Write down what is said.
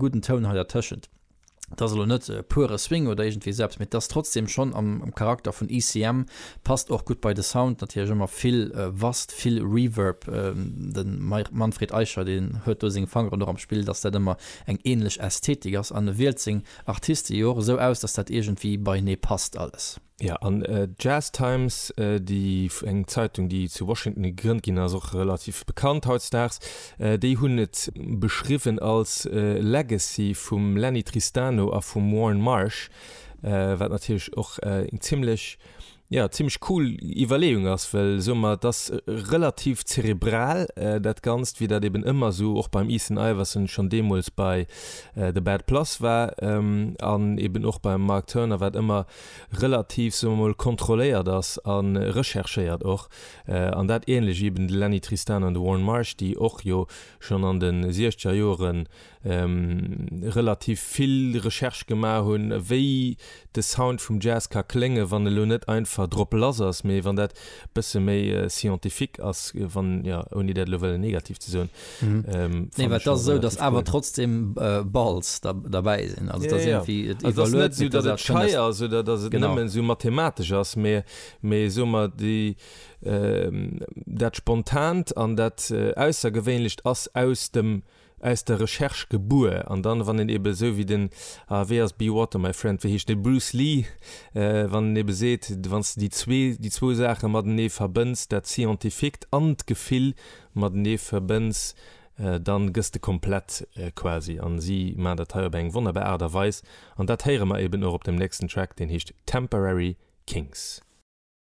gudden Toun hei dertëschent. Et ass elo net pure Swing oder iergendwéi esou eppes, mee et ass trotzdem schonn am Charakter vun ECM, passt och gutt bei de Sound, natierlech ëmmer vill Wast, vill Reverb, de Manfred Eicher, deen huet do seng Fangeren och am Spill, dass dat ëmmer eng ähnlech Ästhetik ass an e wielt seng Artiste jo och esou aus, dass dat iergendwéi beienee passt alles. Jo, an d'Jazz Times, déi eng Zeitung, déi zu Washington gegrënnt ginn ass, och relativ bekannt hautdesdaags, déi hunn et beschriwwen als Legacy vum Lenny Tristano a vum Warne Marsh, wat natierlech och eng zimmlech, jo, zimmlech cool Iwwerleeung ass, well soe mer, et ass relativ zerebral dat Ganzt, wéi dat eben ëmmer esou och beim Ethan Iverson schonn deemools bei The Bad Plus war an eben och beim Mark Turner, wat ëmmer relativ, soe mer mol, kontrolléiert ass a recherchéiert och. An dat ähnlech eben de Lenny Tristano an de Warne Marsh, déi och jo schonn an de siechzeger Joere relativ vill Recherche gemaach hunn, wéi de Sound vum Jazz ka kléngen, wann elo net einfach drop lass ass, mee wann dat bësse méi scientifique ass, wann, jo, ouni dat elo wëllen negativ ze soen. Nee, well et ass esou, datt awer trotzdem Balls derbäi sinn. Also et ass iergendwéi, et iwwerluet, mee et ass net esou, datt et schei ass oder datt et nëmmen esou mathematesch ass, mee, mee soe mer, déi, dat Spontant an dat Aussergewéinlecht ass aus dem, aus der Recherche gebuer. An dann, wann een ebe esou wéi den, ah, wéi ass Be Water My Friend, wéi heescht dee, Bruce Lee, wann en ebe seet, wann s de déi zwee, déi zwou Saache matenee verbënns, dat Scientifiquet an d'Gefill, matenee verbënns, dann gëss de komplett quasi. An si maan dat hei op eng wonnerbar Aart a Weis an dat héiere mer eben och op dem nächsten Track, deen heescht Temporary Kings.